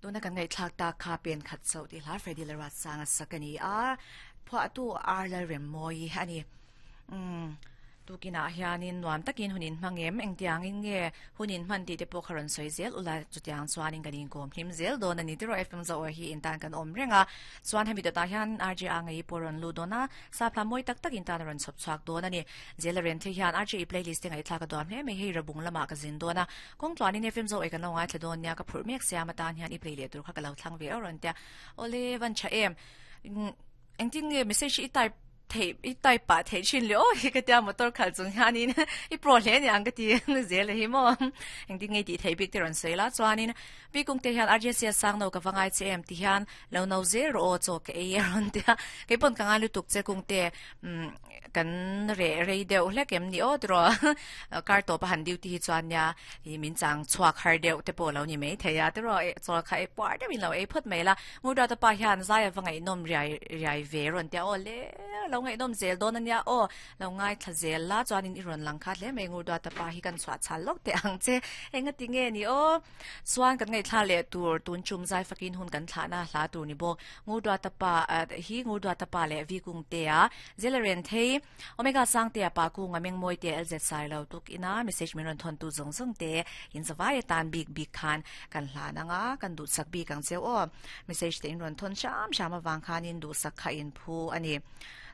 Tuna kan ngaihthlak tak kha pen khat chauh tih hla Freddy Lalruatsanga sak a ni a, phuahtu R Lalremmawi a ni. Umm tukinah hianin nuam takin hun in hmang em? Engtiangin nge hun in hman tih te pawh kha rawn sawi zel ula, chutiang chuanin kan inkawm hlim zel dawn a ni. Tiraw FM Zoar hi intan kan awm reng a, chuan hemi dawtah hian RJA ngei pawh rawn lut dawn a, Sapla mawi tak tak intan a rawn chhawp chhuak dawn a ni. Zela Renthlei hian RJA playlist te ngaihthlak a duam hle mai, hei Rabung lamah ka zin dawn a, Kawng tluanin FM Zoe kan lo ngaithla dawn nia, ka phurh mek siam atan hian i play leh tur kha ka lo thlang ve awr rawn tia. Awle van tha em. Engtin nge message hi i type theih i type pah theih thin le aw hi ka tia motor khalh chung hianin i pro hle ni ang ka ti zel hi maw. Engtin nge i tih theih bik te rawn sawi la chuanin Pi Kungte hian RJC a sang no ka va ngai che em ti hian lo no zel rawh aw chaw ka ei a rawn tia. Keipawn ka ngai lutuk che Kungte kan reh rei deuh hlek em ni aw tiraw kar tawp a han duty hi chuan nia ih min chang chhuak har deuh te pawh lo ni mai thei a tiraw eh chaw kha ei puar deuhin lo ei phawt mai la Ngurduata pa hian zai ava ngaihnawm riai riai ve rawn tia aw le lo ngaihnawm zel dawn ania aw lo ngaithla zel la chuanin i rawn lang khat hle mai Ngurduata pa hi kan chhuah chhal lawk teh ang che engati nge ni aw chuan kan ngaihthla leh tur tun chum zai fakin hun kan thlahna hla tur ni bawk Ngurduata pa hi Ngurduata pa leh Vi Kungtea, Zela Renthei, Omega Sangtea pa Kunga Mengmawitea LZ Sailo tuk ina message min rawn thawn tu zawng zawng te in zavai atan bik bik khan kan hlan anga kan duhsak bik ang cheu aw. Message te in rawn thawn hram hram avang khanin duhsak kha in phu a ni.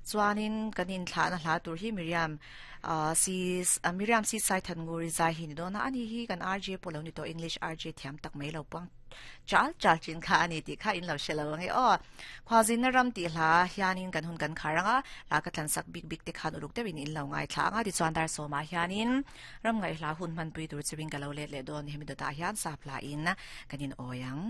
Chuanin kan inthlahna hla tur hi Miriam si Miriam si Saithannguri zai hi ni dawn a, ani hi kan RJ pawh lo ni tawh English RJ thiam tak mai lo puang Chal chal chin kha a ni tih kha in lo hre lo ang e aw. Khualzinna ram tih hla hianin kan hun kan khar ang a, hla ka thlansak bik bik te khan uluk deuhin in lo ngaithla ang a, tichuan dar sawmah hianin ram ngaihhla hun hmanpui tur chuvin ka lo let leh dawn hemi dawtah hian sap hla in kan in awi ang.